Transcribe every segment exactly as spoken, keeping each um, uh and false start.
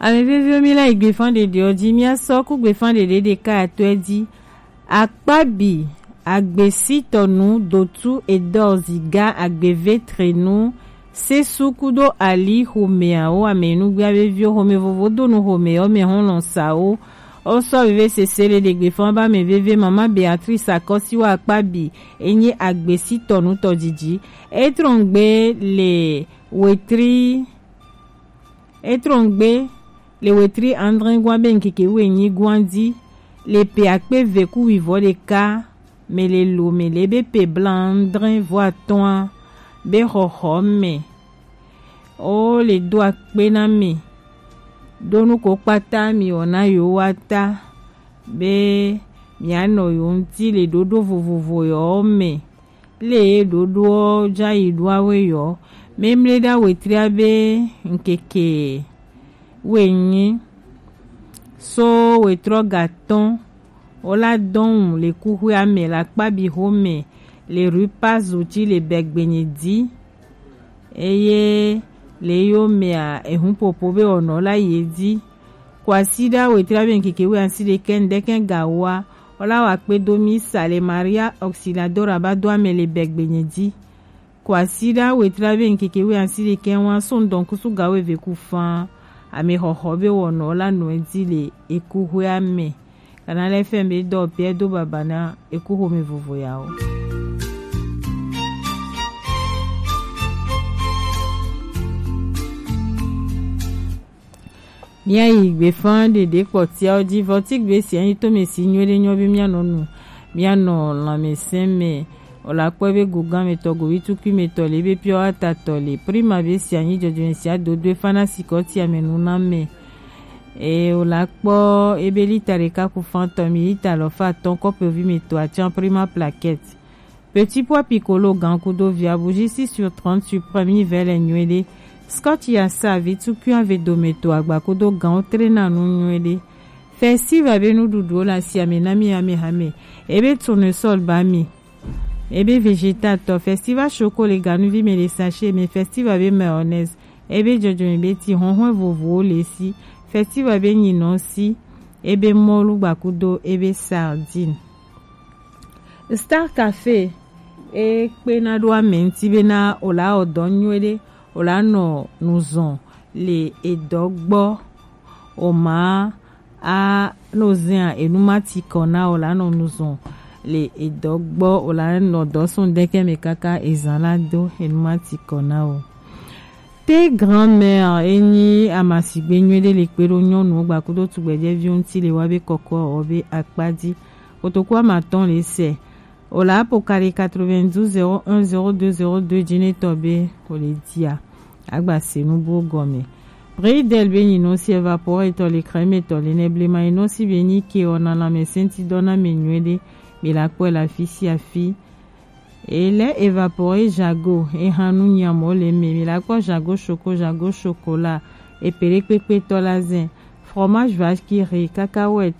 Ame veviwo, mi la yi gbefan ɖeɖe ɔ ji, mi a sɔ ku gbefan ɖeɖe ɖeka atɔ ɛ ji. Akpabi, agbesitɔnu, dotu, edɔ, ziga, agbevetrenu, sesu kudo ali, xomɛawo, amɛnugbia veviwo, xomɛ vovo donu xomɛ ɔ mɛ hɔn lɔn sawo. Wo sɔ veve sese le ɖe gbefan ba mɛ veve mama Beatrice Akɔsiwa Akpabi, enyi agbesitɔnu tɔjiji. Etrɔngbe le wetri Etrɔngbe le wetri adre gwan be ŋkeke wuienyi gwan ji, le pe akpe ve ku wivɔ ɖeka mɛ le lo mɛ le be pe bla adre vɔ atɔn a be xɔxɔ mɛ. O le do akpe na mi ɖo nu ko kpata mi wɔ na yo wa ta be mia nɔ yo ŋti le ɖoɖo vovovo yɔ mɛ. Le ɖoɖoɔ jayi ɖoawe yɔ, memle ɖa wetria be ŋkeke wenyi so wetrɔ gatɔn, wola dɔn le kuxwea mɛ le Akpabi xomɛ le rue Paz uti le Bɛgbenyi di. Eye le yo mɛa, ehun popo be wɔnɔ la ye di. Kwasiɖa wetria be ŋkeke wuiasiɖekɛ ŋdɛkɛ gawoa, wola wa kpe do mi sa le Maria Auxiliadora ba do amɛ le Bɛgbenyi di. Kwasiɖa wetria be ŋkeke wuiasiɖekɛ wa so ŋdɔn kusu gawo eve ku fan, amɛ xɔxɔ be wɔnɔ la nɔ ɛ di le eku xwea mɛ. Kana lɛ fɛn be dɔ pɛ do baba na eku xomɛ vovo yawo. Mia yi gbefan ɖeɖe kpɔtiawo ji vɔ ti gbe si anyi to mɛ si nyuie ɖe nyɔ be mia nɔ nu, mia nɔ lãmɛsɛn mɛ. Wòle akpɔ be gogan mɛ tɔ, govi tukui mɛ tɔ le, be piɔ ata tɔ le, prima be si anyi jɔjɔmɛ si adodo efa na sikɔ ti amɛ nu na mɛ. E wòle akpɔ ebe lita ɖeka ku fan tɔ mi lita alɔfa atɔn kɔpevi mɛ tɔ atian prima plaquette. Petit pois piccolo gan kudo via bougie six sur trente suprême yi vɛ le nyuie ɖe. Scotch ya sa vi tukui ave dome to agba kudo gan wo tre na nu nyuie ɖe. Festival be nuɖuɖuwo le asi ame na mi ame hame. Ebe tournesol ba mi. Ebe vegetal tɔ festival choco le ganuvi me le sachet me festival be mayonnaise. Ebe jɔjɔme be ti hɔnhɔn vovowo le si. Festival be nyinɔ si. Ebe mɔlu gba kudo ebe sardine. Star Cafe e kpena ɖo ame ŋuti bena wòla wɔ dɔ nyuie ɖe, wòla nɔ nu zɔn le edɔ gbɔ, wòma a no zɛa enu ma ti kɔ na wòla nɔ nu zɔn le edɔ gbɔ, wòla nɔ dɔ sɔn ŋdɛkɛ mɛ kaka ezan la do enu ma ti kɔ na wò. Te grand-mère e nyi amasigbe nyuie ɖe le kpe ɖo nyɔnuwo gba kudo tugbɛjɛviwo ŋuti le wa be kɔkɔ wɔ be akpa ji. Kotoku amatɔn le sɛ. Wòle apo kali quatre-vingt-douze zéro un zéro deux zéro deux jinetɔ be wòle dia. Agba se nu buwo gɔme. Bridel be nyinɔ si évaporé tɔ le crème tɔ le nɛ blema nyinɔ si be nyi ke wɔ na lãmɛsɛnti dɔ na mɛ nyuie ɖe. Mi la kpɔe le afi sia afi. E lɛ évaporé jago, e hã nu nyamɔ le mɛ. Mi la kpɔ jago choco, jago chocolat, e pele kpekpe tɔ la zɛn, fromage vache qui rit, cacahuète,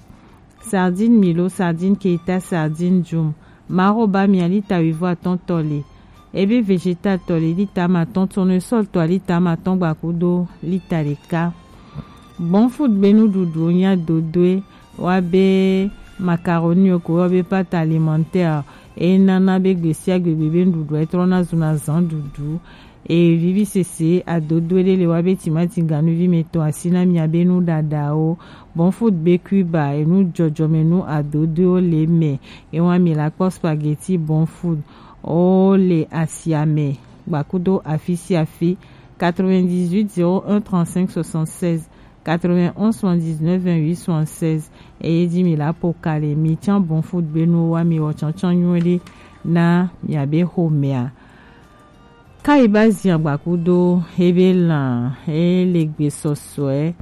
sardine milo, sardine keita, sardine djum, maro ba mia lita wivɔ atɔn tɔ le. Ebe vegetal tɔ le lita amatɔn, tournesol tɔ lita amatɔn gba kudo lita ɖeka. Bon food be nuɖuɖuwo nya dodoe wa be macaroni ko wa be pâte alimentaire e nana be gbesia gbegbe be nuɖuɖu e trɔna zuna zan ɖuɖu. E vivi sese adodoe ɖe le wa be timati ganuvi me tɔ asi na mia be nu ɖaɖawo. Bon food be Cuba enu jɔjɔme nu adodoewo le mɛ. E wa mi la kpɔ spaghetti bon food o le asia mɛ gba kudo afi sia afi. Quatre-vingt-dix-huit zéro un trente-cinq soixante-seize, quatre-vingt-onze soixante-dix-neuf vingt-huit soixante-seize. Eye ji mi la po kali mi can bon food be nu wa mi wɔ cancan nyuie ɖe na mia be xomɛa. Kayi ba zia gba kudo ebe lan e le gbe sɔsɔe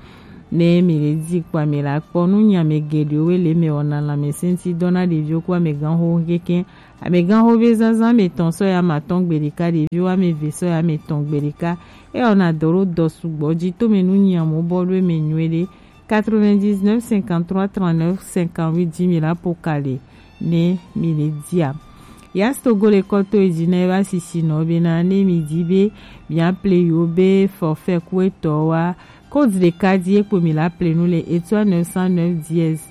ne mi le di kpa mi la kpɔ nu nya me geɖewo le me wɔna lãmɛsɛnti dɔ na ɖeviwo ku amɛganxo keke. Amɛganxo be zazã mɛ tɔn sɔ ya ma tɔn gbe ɖeka, ɖeviwo amɛve sɔ ya mɛ tɔn gbe ɖeka. E wɔna dɔ ɖo dɔ sugbɔ ji to mɛ nu nyiamu bɔ ɖo mɛ nyuie ɖe. Quatre-vingt-dix-neuf cinquante-trois trente-neuf cinquante-huit ji mi la po kali ne mi le dia. Yastogo le kɔ to e ji na e ba sisi nɔ be na ne mi di be mi a ple yo be forfait ku etɔ wa Code ɖeka di ye kpo mi la ple nu le étoile neuf cent neuf dièse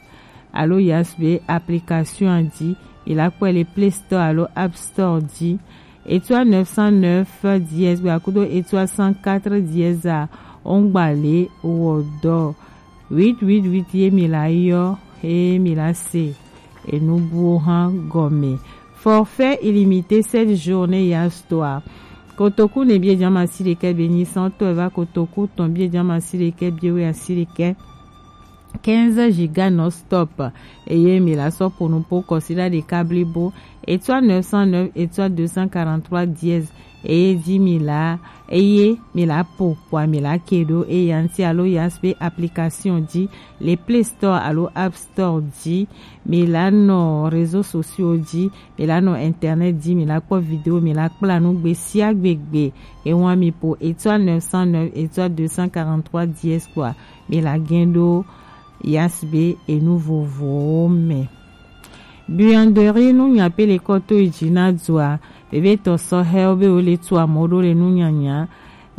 alo Yas be application a di, mi la kpɔe le Play Store alo App Store di. Étoile neuf cent neuf dièse gbe akudo étoile cent quatre dièse a, ongba le wɔ dɔ huit huit huit ye mi la yɔ, eye mi la se enu buwo hã gɔme. Forfait illimité sept jours ne Yas tɔa. Kotoku ne bie jama si ɖekɛ be nyi sɔn tɔ eva kotoku tɔn bie jama si ɖekɛ bie we asi ɖekɛ. Quinze giga non stop. Eye mi la sɔ ƒo nu po kɔsiɖa ɖeka blibo, étoile neuf cent neuf étoile deux cent quarante-trois dièse. Eye di mi la, eye mi la ƒo kpoa mi la ke ɖo eya ŋuti alo Yas be application di le Play Store alo App Store di. Mi la nɔ réseaux sociaux di, mi la nɔ internet di, mi la kpɔ vidéo, mi la kpla nu gbe sia gbe gbe. Ewa mi ƒo étoile neuf cent neuf étoile deux cent quarante-trois dièse kpoa mi la gɛn ɖo Yas be enu vovovowo me. Buanderie nu nya pe le kɔ to yi dzi na dua. Vevitɔ sɔhɛwo be wo le tu amewo ɖo le nunyanya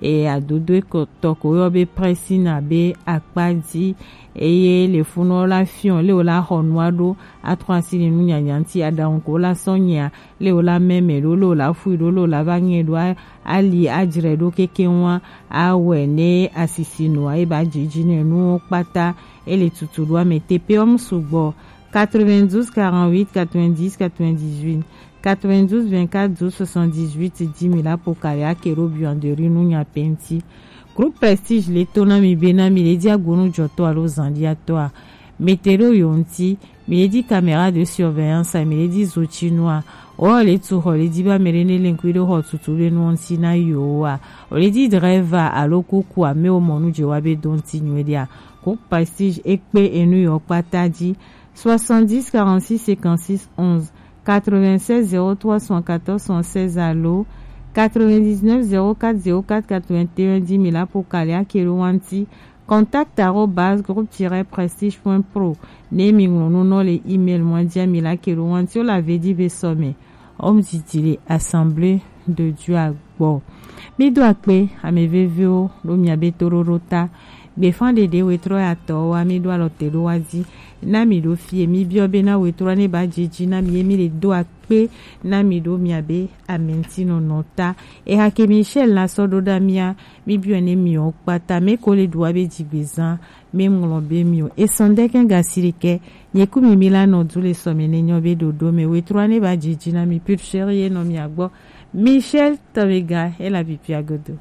e adodo tɔ ko yɔ be pressing abe akpa dzi, eye le funɔ la fiɔ le wo la xɔ nua ɖo atrɔ asi le nunyanya ŋuti aɖaŋu ko la sɔ nyia le wo la mɛmɛ ɖo le wo la fui ɖo le wo la va ŋɛ ɖo a- ali adzre ɖo keke ŋua awɛ ne asisi nua eba dzidzi ne nuwo kpata ele tutu ɖo ame tepe wɔm sugbɔ. Quatre-vingt-douze quarante-huit quatre-vingt-dix quatre-vingt-dix-huit, quatre-vingt-douze vingt-quatre douze soixante-dix-huit di mi la ƒo kali ake ɖo buanderie nu nya pe ŋuti. Groupe Prestige le to na mi be na mi le di agbonu jɔtɔ alo zandiatɔa, mi te ɖo yo ŋuti, mi le di caméra de surveillance a, mi le di zotinua, o le tu xɔ le di ba mi le ne le ŋkui ɖo xɔ tutu be nu ŋuti na yo wa, o le di driver alo kuku a me wo mɔ nu je wa be do ŋuti nyuie dia. Groupe Prestige e kpe enu yo kpata di. Soixante-dix quarante-six cinquante-six onze, quatre-vingt-seize zéro trois soixante-quatorze soixante-seize alo quatre-vingt-dix-neuf zéro quatre zéro quatre quatre-vingt-un di mi la ƒo kali ake ɖo wa ŋuti. Contact arobase groupe tiret prestige point pro. Ne mi ŋlɔ nu nɔ le email mɔ dia mi la ke ɖo wa ŋuti wo la ve di be sɔme. Homme didi le Assemblée de Dieu a gbɔ. Mi do akpe ame veviwo ɖo mia be toɖoɖo ta. Gbefan ɖeɖe wetrɔ ya tɔ wa mi ɖo alɔ te ɖo wa di. Na mi ɖo fie mi biɔ be na wetrɔ ne ba dzidzi na mi ye mi le do akpe na mi ɖo mia be ame ŋuti nɔnɔ ta. Eha ke Michel la sɔ ɖo ɖa mia mi biɔ ne mi o kpata me ko le ɖo wa be dzigbezan me ŋlɔ be mi o. Esɔn ɖe kɛ gasi ɖe kɛ nye ku mi mi la nɔ du le sɔme ne nyɔ be ɖoɖo me wetrɔ ne ba dzidzi na mi pure chérie ye nɔ mia gbɔ. Michel Tawega e la bibia godo.